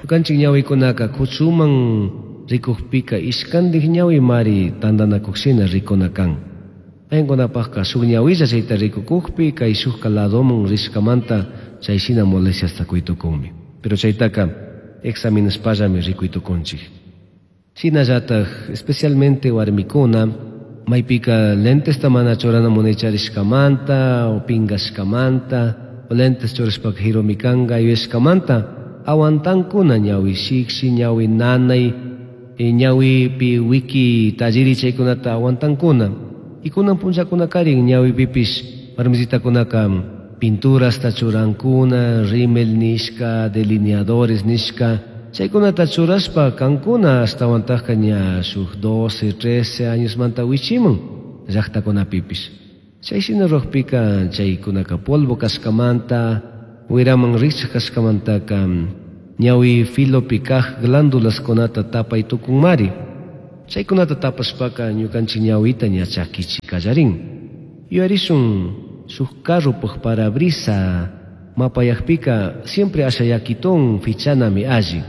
Ñukanchik ñawikunaka kuchuman rikukpika ishkandik ñawimari tandanakushina rikuna kan. Paykunapaqqa shuk ñawilla chayta rikukukpi kay shukka ladoman rishkamanta chayshina molestiasta kuytukunmi. Pero chaytaka examinashpallami rikuytukunchik. Shinallatak especialmente warmikuna maypika lentesta mana churana munaycharishkamanta o pingashkamanta o lentes churashpaka jirumi kanka yuyashkamanta aguantankuna ñawi shikshi, ñawi nanay, ñawipi wiki talliri chaykunata aguantankuna. Y kunan punllakunakarin ñawipipish warmisitakunaka pinturasta churankuna, rímel nishka, delineadores nishka, chaykunata churashpa kankuna ashtawantajka ña shuk 12, 13 añosmanta wichimun llaqtakunapipish. Chayshina ruwakpika chaykunaka polvo kashkamanta, wiraman rikchak kashkamantaka ñawi filopi kaj glándulaskunata tapay tukunmari. Chaykunata tapashpaka ñukanchik ñawita ña chakichi kallarin. Yuyarishun shuk carropaj parabrisa mapayakpika siempre asha yakitun fichanami alli.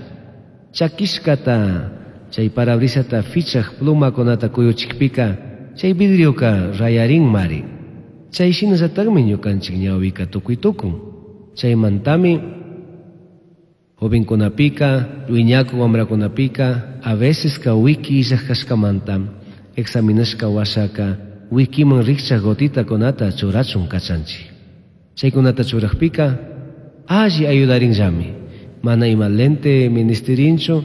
Chakishkata chay parabrisata fichaj plumakunata kuyuchikpika chay vidrioka rayarinmari. Chay shinallatakmi ñukanchik ñawika tukuy tukun. Chaymantami jovenkunapika, wiñaku wamrakunapika, a veces ka wiki illaj kashkamanta examinashka washaka wikiman rikchak gotitakunata churachun kachanchik. Chaykunata churakpika alli ayudarinllami. Mana ima lente ministirinchu,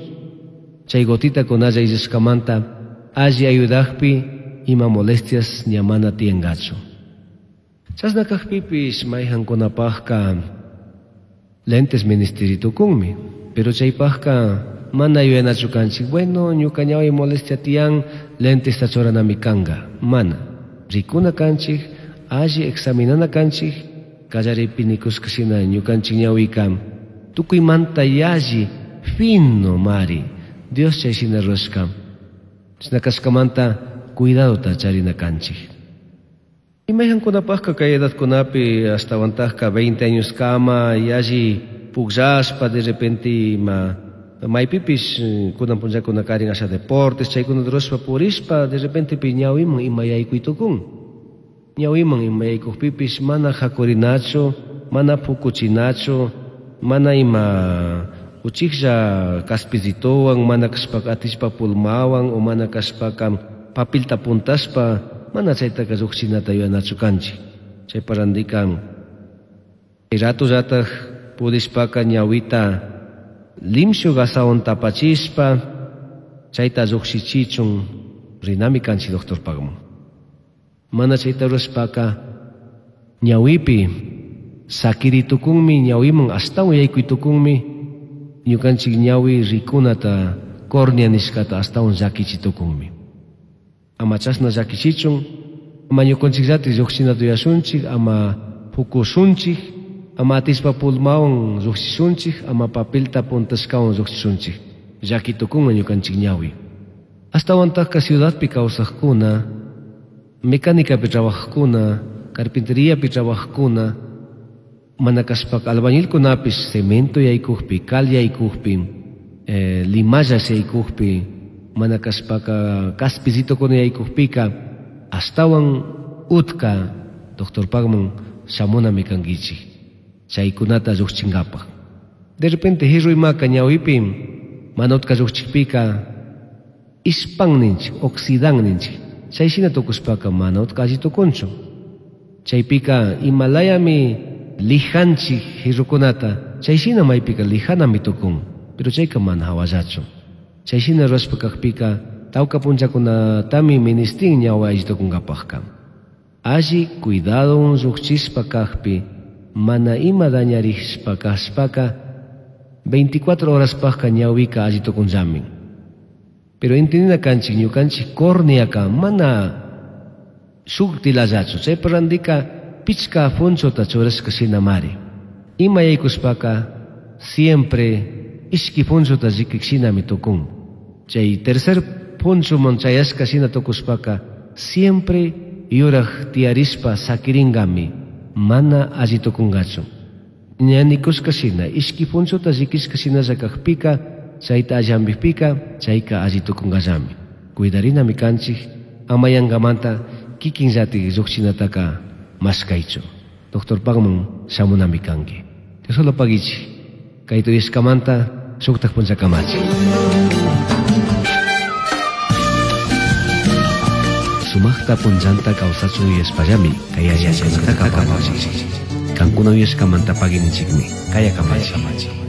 chay gotitakunalla illashkamanta alli ayudakpi ima molestias ña mana tiyangachu. Chashna kakpipish mayhankunapajka lentes ministeritukunmi, pero chaypajka mana yuyanachu kanchik, bueno, ñuka ñawi molestia tiyan, lentesta churanami kanka. Mana. Rikuna kanchik, alli examinana kanchik, kallaripi nikushka shina ñukanchik ñawika tukuymanta yalli fino mari, Dios chay shina rurashka. Chashna kashkamanta cuidadota charina kanchik. Y mayhankunapajka kay edadkunapi ashtawantajka 20 años kama yalli pukllashpa de repente ima maypipish kunan punllakuna karin asha deportes chaykunata rurashpa purishpa de repente pi ñawiman ima yaykuytukun. Ñawiman ima yaykukpipish mana hakurinachu, mana pukuchinachu, mana ima uchiklla kaspizitowan, mana kashpaka atishpa pulmawan o mana kashpaka papilta puntashpa mana chaytaka lluqshinata yuyanachu kanchik. Chaypa randika ratullataj pudishpaka ñawita limshu gasawan tapachishpa chayta lluqshichichun rinami kanchik doctorpaqman. Mana chayta rurashpaka ñawipi sakiritukunmi, ñawiman ashtawan yaykuytukunmi, ñukanchik ñawi rikunata córnea nishkata ashtawan llakichitukunmi. Ama chashna llakichichun, ama ñukanchikllatik lluqshinata yuyashunchik, ama pukushunchik, ama atishpa pulmawan lluqshishunchik, ama papelta puntashkawan lluqshishunchik. Llakitukunman ñukanchik ñawi. Ashtawantajka ciudadpi kawsaqkuna, mecánicapi trabajaqkuna, carpinteriapi trabajaqkuna, mana kashpaka albañilkunapish cemento yaykukpi, cal yaykukpi, limalla yaykukpi, mana kashpaka kaspizitokuna yaykukpika, ashtawan utka doctorpaqman shamunami kankichik chaykunata lluqchinkapaq. De repente hirruymaka ñawipi mana utka lluqchikpika ispan ninchik, oxidan ninchik. Chayshina tukushpaka mana utka alli tukunchu. Chaypika imalayami lijanchik hirrukunata, chayshina maypika lijanami tukun, pero chayka mana hawallachu. Chayshina rurashpa kakpika tawka punllakunatami ministin ñawi alli tukunkapaqka. Alli cuidadon lluqchishpa kakpi, mana ima dañarishpa kashpaka 24 horaspaqka ñawika alli tukunllami. Pero entendina kanchik ñukanchik córneaka mana shuk tilallachu, chaypa randika pichka funchota churashka shinamari. Ima yaykushpaka siempre ishki funchota rikik shinami tukun. Chay tercer punchuman chayashka shina tukushpaka siempre yuraj tiyarishpa sakiringami, mana alli tukungachu. Ña nikushka shina, ishki punchuta llikishka shinalla kakpika, chayta alli hampikpika, chayka alli tukunkallami. Cuidarinami kanchik, ama yankamanta kikinllatik llukchinataka mashkaychu. Doctorpakman shamunami kanki. Diosolo pagichik, kayta uyashkamanta shuktak punchakamachi. Sumaqta punllanta kawsachun yuyashpallami kay alli yachaykunataka apamunchik. Kankuna uyashkamanta pagui ninchikmi. Kaya kamachi.